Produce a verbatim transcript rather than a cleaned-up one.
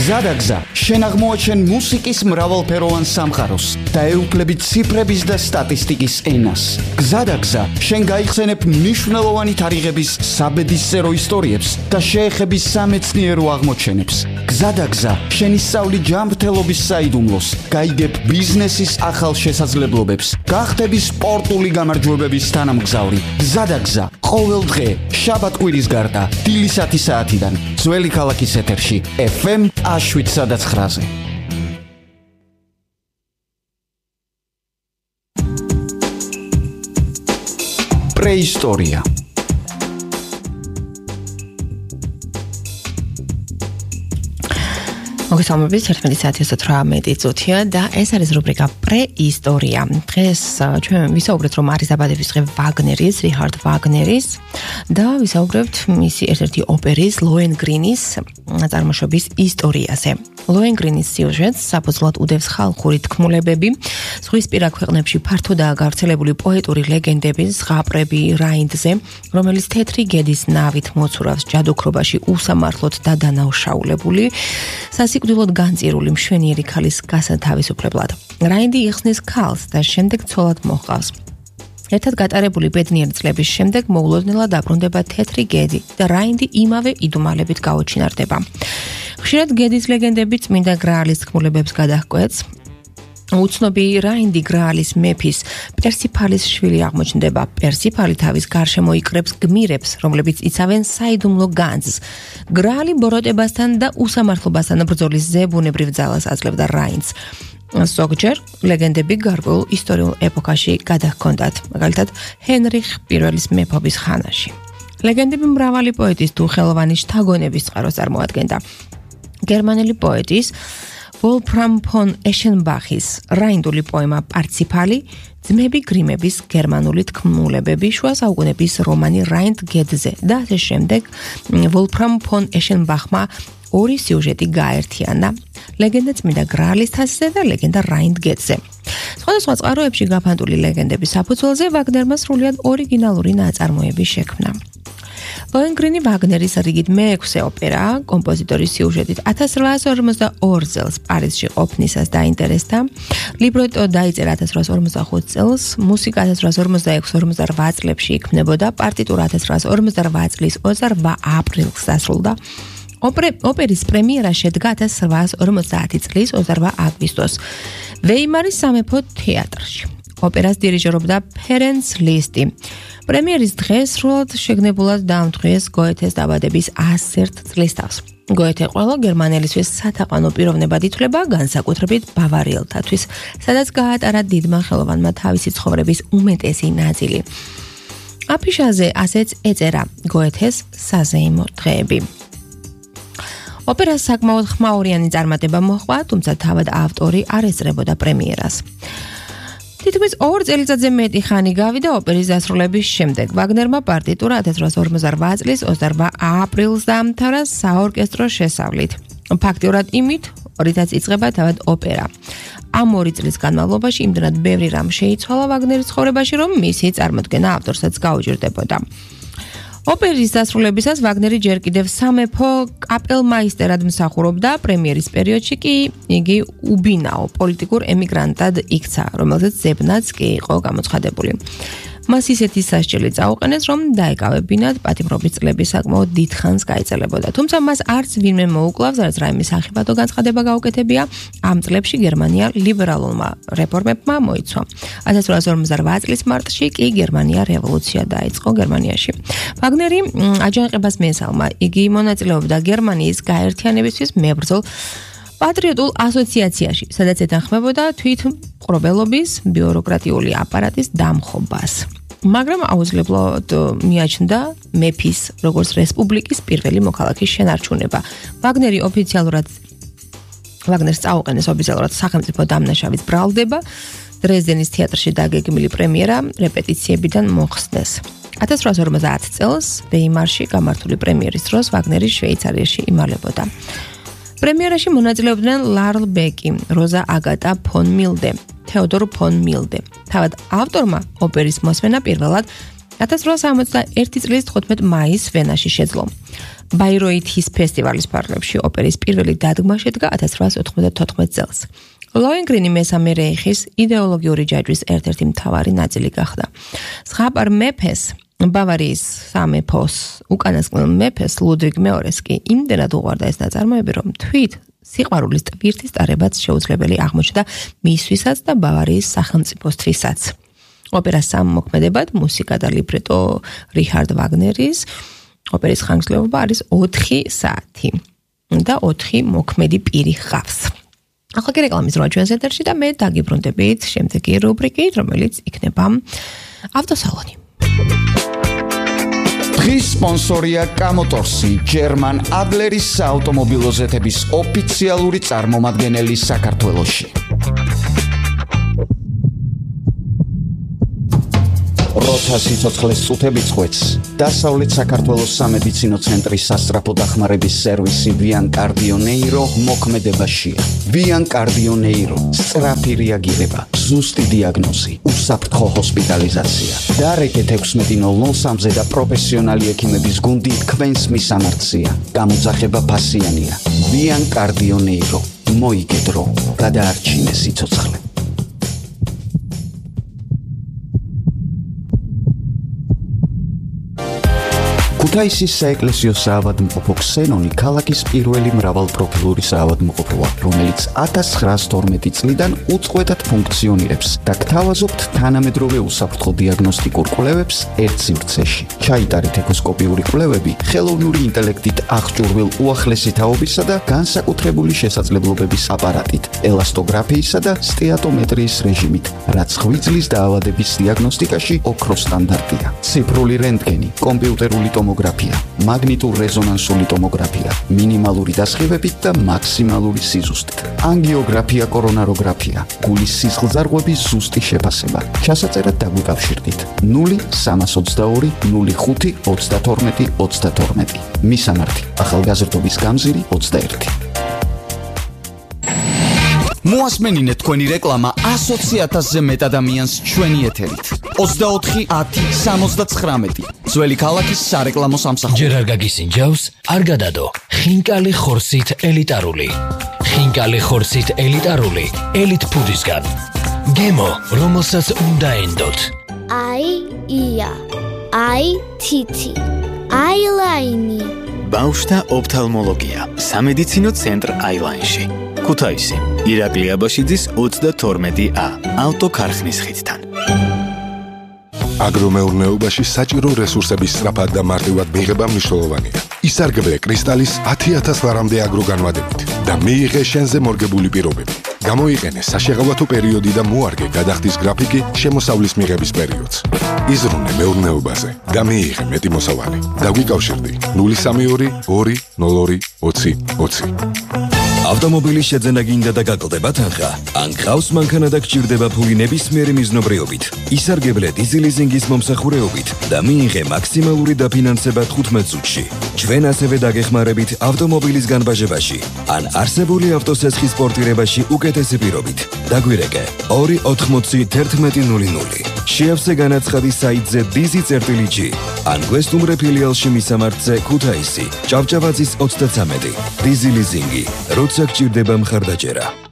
გზადაგზა, შენ აღმოაჩენ მუსიკის მრავალფეროვან სამყაროს და ეუფლები ციფრების და სტატისტიკის ენას. გზადაგზა, შენ გაიხსენებ მნიშვნელოვანი თარიღების საბედისწერო ისტორიებს და შეეხები სამეცნიერო აღმოჩენებს. გზადაგზა, შენ ისწავლი ჯანმრთელობის საიდუმლოს, გაიგებ ბიზნესის ახალ შესაძლებლობებს, გახდები სპორტული გამარჯვებების თანამგზავრი. გზადაგზა, ყოველ დღე, შაბათ-კვირის გარდა, დილისათი საათიდან, ძველი ქალაქის ეთერში, ეფ ემ შვიდ ცხრაზე. პრეისტორია. მოგესალმებით, ერთმეტი საათი ოცდაოთხი წუთია და ეს არის რუბრიკა პრეისტორია. დღეს ჩვენ ვისაუბრეთ, რომ არის დაბადების დღე ვაგნერის, რიხარდ ვაგნერის და ვისაუბრებთ მისი ერთ-ერთი ოპერის, ლოენგრინის წარმოშობის ისტორიაზე. ლოენგრინის სიუჟეტს საფუძვლად უდევს ხალხური თქმულებები, ზღვისპირა ქვეყნებში ფართოდაა გავრცელებული პოეტური ლეგენდები ზღაპრები რაინდზე, რომელიც თეთრი გედის ნავით მოცურავს ჯადოქრობაში უსამართლოდ და დანაუშაულებული სიკვდილოდ განწირული მშვენიერი ქალის გასათავისუფლებლად. რაინდი იხსნის ქალს და შემდეგ ცოლად მოჰყავს. ერთად გატარებული ბედნიერი წლების შემდეგ მოულოდნელად დაბრუნდება თეთრი გედი და რაინდი იმავე იდუმალებით გაუჩინარდება. ხშირად გედის ლეგენდები წმინდა გრაალის თქმულებებს გადაჰკვეთს. უცნობი რაინდი გრაალის მეფის პერსიფალის შვილი აღმოჩნდება. პერსიფალი თავის გარშემო იკრებს გმირებს, რომლებიც იცავენ საიდუმლო განძს. გრაალი ბოროტებასთან და უსამართლობასთან ბრძოლის ზებუნებრივ ძალას აძლევდა რაინდს. ზოგჯერ ლეგენდები გარკვეულ ისტორიულ ეპოქაში გადაჰქონდათ, მაგალითად ჰენრიხ პირველის მეფობის ხანაში. ლეგენდები მრავალი პოეტის თუ ხელოვანის შთაგონების წყაროს წარმოადგენდა. გერმანელი პოეტის ვოლფრამ ფონ ეშენბახის რაინდული პოემა პარციფალი, ძმები გრიმების გერმანული თქმულებები, შუა საუკუნეების რომანი რაინდ გედზე და ასე შემდეგ ვოლფრამ ფონ ეშენბახმა ორი სიუჟეტი გააერთიანა, ლეგენდა წმინდა გრაალის თასზე და ლეგენდა რაინდ გედზე. სხვადასხვა წყაროებში გაფანტული ლეგენდების საფუძველზე ვაგნერმა სრულიად ორიგინალური ნაწარმოები შექმნა. ლოენგრინი ვაგნერის რიგით მეექვსე ოპერა, კომპოზიტორის სიუჟეტით ათას რვაას ორმოცდაორი წელს პარიზში ყოფნისას დაინტერესდა. ლიბრეტო დაიწერა ათას რვაას ორმოცდახუთ წელს, მუსიკა ათას რვაას ორმოცდაექვსი ორმოცდარვა წლებში იქმნებოდა, პარტიტურა ათას რვაას ორმოცდარვა წლის ოცდარვა აპრილს დასრულდა. ოპერის პრემიერა შედგა ათას რვაას ორმოცდაათი წლის ოცდარვა აგვისტოს ვეიმარის სამეფო თეატრში. ოპერას დირიჟორობდა ფერენც ლისტი. პრემიერის დღეს სრულად შეგნებულად დაამტყიეს გოეთეს დაბადების ასერთ წლისთავს. გოეთე ყველა გერმანელისთვის სათაყვანო პიროვნებად ითვლება, განსაკუთრებით ბავარიელთათვის, სადაც გაატარა დიდმა ხელოვანმა თავისი ცხოვრების უმეტესი ნაწილი. აფიშაზე ასეც ეწერა გოეთეს საზეიმო დღეები. ოპერას საკმაოდ ხმაურიანი წარმატება მოჰყვა, თუმცა თავად ავტორი არ ესწრებოდა პრემიერას. თითქმის ორ წელიწადზე მეტი ხანი გავიდა ოპერის დასრულების შემდეგ. ვაგნერმა პარტიტურა ათას რვაას ორმოცდარვა წლის ოცდარვა აპრილს დაამთავრა საორკესტრო შესავლით. ფაქტიურად იმით, რითაც იწყება თავად ოპერა. ამ ორი წლის განმავლობაში იმდენად ბევრი რამ შეიცვალა ვაგნერის ცხოვრებაში, რომ მისი წარმოდგენა ავტორსაც გაუჭირდებოდა. ოპერის დასრულებისას ვაგნერი ჯერ კიდევ სამეფო კაპელმაისტერად მსახურობდა, პრემიერის პერიოდში კი იგი უბინაო პოლიტიკურ ემიგრანტად იქცა, რომელზეც ზებნაც კი იყო გამოცხადებული. მას ისეთი სასჯელი წაუყენეს, რომ დაეკავებინათ პატიმრობის წლები საკმაოდ დიდ ხანს გაეწელებოდა. თუმცა მას არც ვინმე მოუკლავს, რაც რაიმე სახიფათო განცხადება გაუკეთებია. ამ წლებში გერმანია ლიბერალურმა რეფორმებმა მოიცვა. ათას რვაას ორმოცდარვა წლის მარტში კი გერმანია რევოლუცია დაიწყო გერმანიაში. ვაგნერი აჯანყებას მიესალმა. იგი მონაწილეობდა გერმანიის გაერთიანებისთვის მებრძოლ პატრიოტულ ასოციაციაში, სადაც ეთანხმებოდა თვითმპყრობელობის ბიუროკრატიული აპარატის დამხობას. მაგრამ აუცილებლად მიაჩნდა მეფის, როგორც რესპუბლიკის პირველი მოქალაქის შენარჩუნება. ვაგნერი ოფიციალურად ვაგნერს წაუყენეს ოფიციალურად სახელმწიფო დამნაშავის ბრალდება, დრეზდენის თეატრში დაგეგმილი პრემიერა რეპეტიციებიდან მოხსნეს. ათას რვაას ორმოცდაათი წელს ვეიმარში გამართული პრემიერის დროს ვაგნერი შვეიცარიაში იმალებოდა. პრემიერაში მონაწილეობდნენ ლარლ ბეკი, როზა აგატა ფონ მილდე, თეოდორ ფონ მილდე. თავად ავტორმა ოპერის მოსმენა პირველად ათას რვაასი ორმოცდაერთი წლის თხუთმეტ მაისს ვენაში შეძლო. ბაიროითის ფესტივალის ფარგლებში ოპერის პირველი დადგმა შედგა ათას რვაასი ოთხმოცდათოთხმეტ წელს. ლოენგრინი მესამე რეიხის იდეოლოგიური ჯაჭვის ერთ-ერთი მთავარი ნაწილი გახდა. ზღაპარ მეფეს ბავარიის სამეფოს უკანასკნელ მეფეს ლუდვიგ მეორეს კი იმდენად უყვარდა ეს ნაწარმოები, რომ თვით სიყვარულის ტვირთის ტარებაც შეუძლებელი აღმოჩნდა მისთვისაც და ბავარიის სახელმწიფოსთვისაც. ოპერას სამოქმედებად მუსიკა და ლიბრეტო რიჰარდ ვაგნერის ოპერის ხანგრძლივობა არის ოთხი საათი და ოთხი მოქმედი პირი ჰყავს. ახლა კი რეკლამის რვა ჩვენს ეთერში და მე დაგიბრუნდებით შემდეგი რუბრიკით, რომელიც იქნება ავტოსალონი. დღის სპონსორია კამოტორსი, ჯერმან ადლერის საავტომობილო ზეთების ოფიციალური წარმომადგენელი საქართველოში. როცა სიცოცხლეს წუთები წყვეტს, დასავლეთ საქართველოს სამედიცინო ცენტრის სასწრაფო დახმარების სერვისი ვიან კარდიო ნეირო მოქმედებაშია. ვიან კარდიო ნეირო, სწრაფი რეაგირება, ზუსტი დიაგნოზი, უსაფრთხო ჰოსპიტალიზაცია. დარეკეთ ექვსმეტი ნულ ნულ სამზე და პროფესიონალი ექიმების გუნდი თქვენს მისამართზეა. გამოძახება ფასიანია. ვიან კარდიო ნეირო, მოიგე დრო, გადაარჩინე სიცოცხლე. ქუთაისის საეკლესიო საავადმყოფო ქსენონი ქალაქის პირველი მრავალპროფილური საავადმყოფოა, რომელიც ათას ცხრაასი თორმეტი წლიდან უწყვეტად ფუნქციონირებს და გთავაზობთ თანამედროვე უსაფრთხო დიაგნოსტიკურ კვლევებს ერთ სივრცეში. ჩაიტარეთ ეკოსკოპიური კვლევები ხელოვნური ინტელექტით აღჭურვილ უახლესი თაობისა და განსაკუთრებული შესაძლებლობების აპარატით, ელასტოგრაფიისა და სტეატომეტრიის რეჟიმით, რაც ღვიძლის დაავადების დიაგნოსტიკაში ოქროს სტანდარტია. ციფრული რენტგენი, კომპიუტერული ტომოგრაფია, მაგნიტურ-რეზონანსული ტომოგრაფია, მინიმალური დასხივებით და მაქსიმალური სიზუსტით. ანგიოგრაფია, კორონაროგრაფია, გულის სისხლძარღვების ზუსტი შეფასება. ჩასაწერად დაგვიკავშირდით ნული სამას ოცდაორი ნული ხუთი ოცდათორმეტი ოცდათორმეტი. მისამართი: ახალგაზრდობის გამზირი ოცდაერთი. მოასმენინეთ თქვენი რეკლამა ასოცი ათასზე მეტ ადამიანს ჩვენი ეთერით. ოცდაოთხი ათი სამოცდაცხრამეტი. ძველი ქალაქის სარეკლამო სამსახური. ჯერ არ გაგისინჯავს, არ გადადო. ხინკალი ხორცით ელიტარული. ხინკალი ხორცით ელიტარული. ელიტ ფუდისგან. გემო, რომელსაც უნდა ენდოთ. აი ია. აი თითი. აილაინი. ბავშვთა ოფთალმოლოგია. სამედიცინო ცენტრ აილაინში. ქუთაისი. ირაკლი აბაშიძის ოცდათორმეტი ა. ავტოქარხნის ხიდთან. აგრომეურნეობაში საჭირო რესურსების სწრაფად და მარტივად მიღება მნიშვნელოვანია. ისარგებლე კრისტალის ათი ათას ლარამდე აგროგანვადებით და მიიღე შენზე მორგებული პირობები. გამოიყენე საშეღავათო პერიოდი და მოარგე გადახდის გრაფიკი შემოსავლის მიღების პერიოდს. იზრუნე მეურნეობაზე და მიიღე მეტი მოსავალი. დაგვიკავშირდი ნული სამი ორი ორი ნულ ორი ოცი ოცი. ავტომობილის შეძენა გინდა და გაკლდება თანხა? ან გყავს მანქანა და გჭირდება ფული ნებისმიერი მიზნობრიობით? ისარგებლე დიზელიზინგის მომსახურეობით და მიიღე მაქსიმალური დაფინანსება თხუთმეტ წუთში. ჩვენ ასევე დაგეხმარებით ავტომობილის განბაჟებაში ან არსებული ავტოსესხის პორტირებაში უკეთესი პირობით. დაგვირეკე ორი ოთხმოცი თერთმეტი ნული ნული. შეავსე განაცხადი საიტზე დიზი წერტილი ჯი ან გვესტუმრე ფილიალში მისამართზე ქუთაისი, ჭავჭავაძის ოცდათვრამეტი. დიზი ლიზინგი, როცა გჭირდება მხარდაჭერა.